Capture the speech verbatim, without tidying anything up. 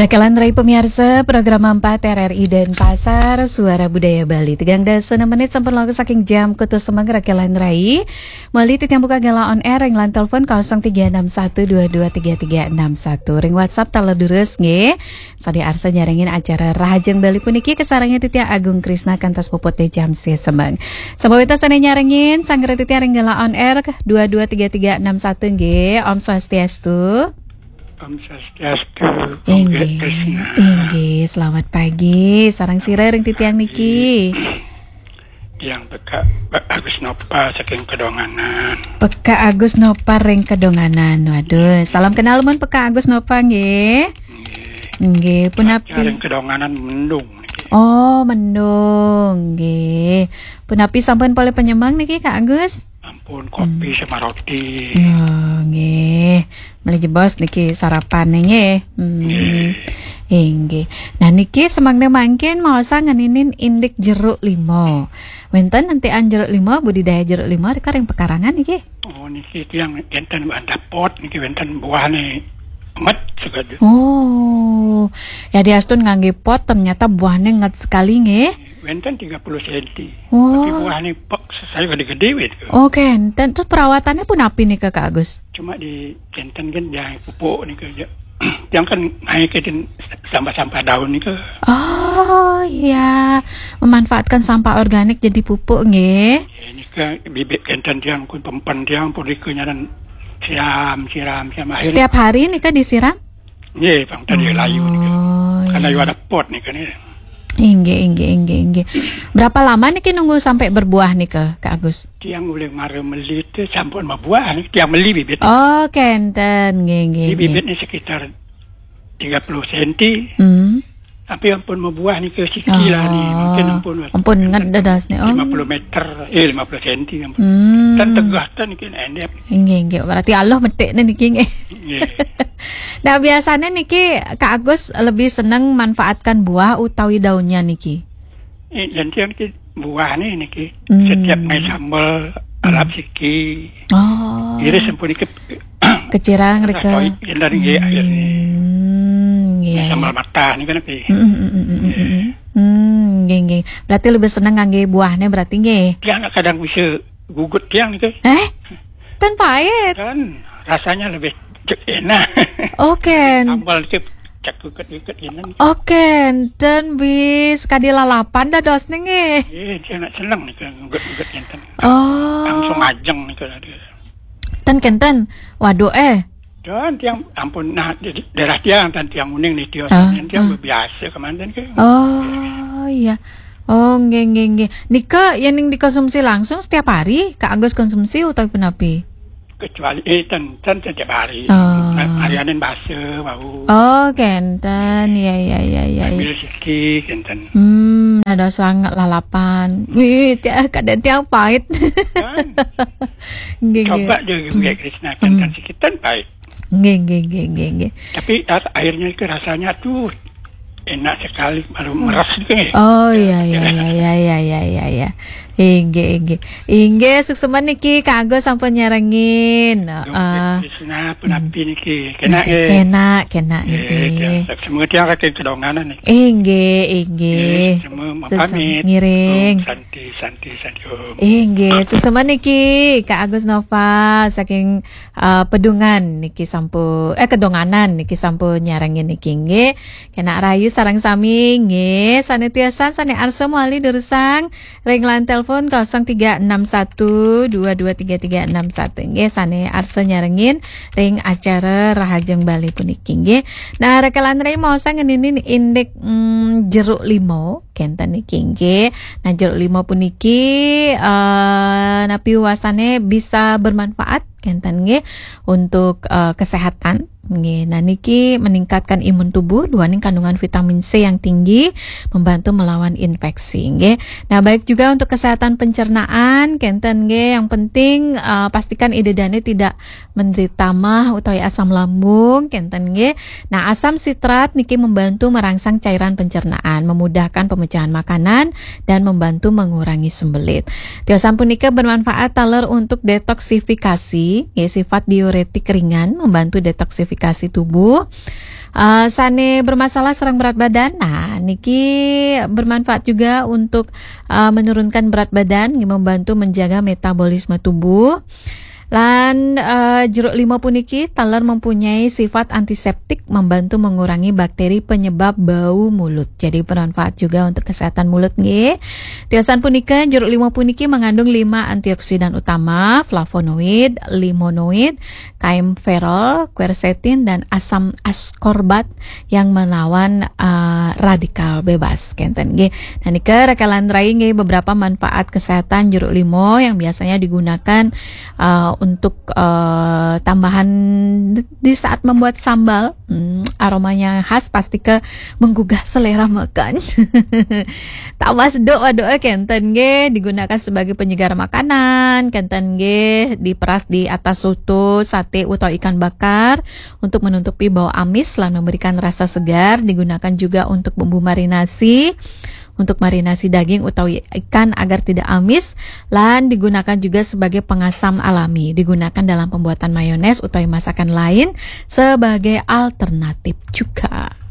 Rekelan rai pamiarsa, program empat R R I Denpasar, Suara Budaya Bali. Tigang dasa enam menit sampun lawis saking jam kutus semeng, Rekelan rai. Malih titiang buka galah on air ring line telepon kosong tiga enam satu dua dua tiga tiga enam satu. Ring WhatsApp taler durus nggih. Sané arsa nyarengin acara Rahajeng Bali puniki kasarengin titiang Agung Krisna kantos puput jam sia semeng. Sampun wénten sané nyarengin, sareng titiang ring galah on air dua dua tiga tiga enam satu nggih. Om Swastiastu. Om Swastiastu, Om Inggih, Krisna. Inggih, selamat pagi. Sareng sira ring titiang niki? Tiang Pekak Agus Nopa saking Kedonganan. Pekak Agus Nopa ring Kedonganan. Waduh, salam kenal mun Pekak Agus Nopa nggih. Nggih. Nggih, punapi? Ring Kedonganan mendung niki. Oh, mendung nggih. Punapi sampun polih penyemeng niki, Kak Agus? Ampun, kopi sama roti. Oh, nggih. Malih jebos niki sarapan nggih. Hmm. Nggih. Inggih. Nah, niki semangda mangkin maosang ngeninin indik jeruk limau. Wénten nentian jeruk limau, budidaya jeruk limau rika ring pekarangan niki? Oh, niki tiang énten wantah pot niki wénten buahné nget sekadi. Oh. Ya diastun nganggé pot ternyata buahné nget sekali nggih. Wénten tiga puluh senti. Oh. Tapi buahné pek saya gedé-gedé wé. Oh, kénten. Terus perawatannya punapi nika, Kak Agus? Cuma di kénten kan dia pupuk nika aja. Tiang kan naik ke sampah-sampah daun nika. Oh, iya. Memanfaatkan sampah organik jadi pupuk nggih. Ya, nika bibit kénten tiang kun pempen tiang pun nika nyaran siram, siram, siram. Akhirnya setiap hari nika disiram? Nggih, pang tadi layu nika. Oh, karena iya. Ada pot nika nih. Inggih, inggih, inggih, inggih. Berapa lama niki nunggu sampai berbuah nika, Kak Agus? Tiang ulih mara meli téh sampun mabuah niki, tiang meli bibit. Oh, kénten, nggih, nggih, nggih. Bibitnya sekitar tiga puluh senti. Hmm. Tapi ampun mabuah nika siki lah nih, mungkin ampun. Ampun nget dados nih, oh. Lima puluh meter, eh, lima puluh senti ampun. Hmm. Tan tegah tan niki endep. Inggih, inggih. Berarti aluh metikné niki nggih. Nggih. Nah, biasanya niki Kak Agus lebih seneng manfaatkan buah utawi daunnya niki? Eh, dan tiang niki buahné niki. Hmm. Setiap main sambel, hmm, alap siki. Oh. Iris sampun niki kecirang rika. Toit, dan nggih, akhirnya. Hmm, iya, sambal iya. Matah niki kan, tapi. Hmm, hmm, hmm, hmm, hmm, hmm. Hmm, nggih, nggih. Berarti lebih seneng nganggé buahné berarti nggih. Tiang kadang bisa gugut tiang niki. Eh? Ten pahit. Dan rasanya lebih cek enak. Oke. Sambal niki cek gugut-gugut enak. Oke, ten bis kadi lalapan dadosné nggih. Eh, tiang nak seneng niki gugut-gugut énten. Oh. Langsung ajeng niki tadi. Ten kénten. Waduh, eh. Dan tiang ampun, nah, di, di daerah tiang, tan tiang uning nih, tiang, ah, tiang, ah, biasa kemanten ke. Oh, iya. Oh, nggih, nggih, nggih. Nika yén ning dikonsumsi langsung setiap hari, Kak Agus konsumsi utawi punapi? Kecuali, eh, ten, ten setiap hari. Oh. Nah, harianin basa, wau. Oh, kénten. Iya, iya, iya, iya, iya. Ambil siki, kénten. Hmm, ada sangat lalapan. Wih, tiang, kadang tiang pahit. Kan? Nggih, nggih. Coba deh, nggih, Krisna, kénten, hmm, siki ten pahit. Nggih, nggih, nggih, nggih, nggih. Tapi ar-, airnya itu rasanya tuh enak sekali, baru meres gitu nggih. Oh, iya, iya, iya, iya, iya, iya, iya. Inggih, inggih. Inggih, suksma niki Kak Agus sampun nyarengin. Heeh. Krisna punapi niki. Kena, nggih, eh. Kena, kena niki. Semoga tiang saking Kedonganan niki. Inggih, inggih. Nggih, semua suksma pamit. Ngiring. Om Santi, Santi, Santi Om. Inggih, suksma niki Kak Agus Nova saking eh, Pedungan niki sampun, eh, Kedonganan niki sampun nyarengin niki nggih. Kena rahayu sareng sami nggih. Sané tiosan, sané arsa malih durusang ring line telepon kosong tiga enam satu dua dua tiga tiga enam satu nggih. Sané arsa nyarengin ring acara Rahajeng Bali puniki nggih. Nah, rekelan rai maosang ngeninin indik, mm, jeruk limau. Kénten niki nggih. Nah, jeruk limau puniki, eh, napi wastané bisa bermanfaat, kénten nggih, untuk, eh, kesehatan. Nggih. Nah, niki meningkatkan imun tubuh, duaning kandungan vitamin C yang tinggi, membantu melawan infeksi, nggih. Nah, baik juga untuk kesehatan pencernaan, kénten nggih. Yang penting, eh, pastikan ida dané tidak menderita mah utawi asam lambung, kénten nggih. Nah, asam sitrat niki membantu merangsang cairan pencernaan, memudahkan pemecahan makanan, dan membantu mengurangi sembelit. Tiosan punika bermanfaat taler untuk detoksifikasi, nggih, sifat diuretik ringan, membantu detoksifikasi tubuh. Uh, sane bermasalah sareng berat badan, nah niki bermanfaat juga untuk uh, menurunkan berat badan, membantu menjaga metabolisme tubuh. Lan uh, jeruk limau puniki taler mempunyai sifat antiseptik, membantu mengurangi bakteri penyebab bau mulut. Jadi bermanfaat juga untuk kesehatan mulut nggih. Tiosan punika, jeruk limau puniki mengandung lima antioksidan utama, flavonoid, limonoid, kaempferol, quercetin, dan asam ascorbat yang melawan uh, radikal bebas kenten nggih. Nah nika rakalan rai nggih beberapa manfaat kesehatan jeruk limau yang biasanya digunakan uh, untuk uh, tambahan di saat membuat sambal. Hmm, aromanya khas, pasti ke menggugah selera makan. Tawas doa-doa kenten nggih digunakan sebagai penyegar makanan, kenten nggih diperas di atas soto, sate utawi ikan bakar untuk menutupi bau amis lan memberikan rasa segar, digunakan juga untuk bumbu marinasi, untuk marinasi daging utawi ikan agar tidak amis, lan digunakan juga sebagai pengasam alami, digunakan dalam pembuatan mayones utawi masakan lain sebagai alternatif juga.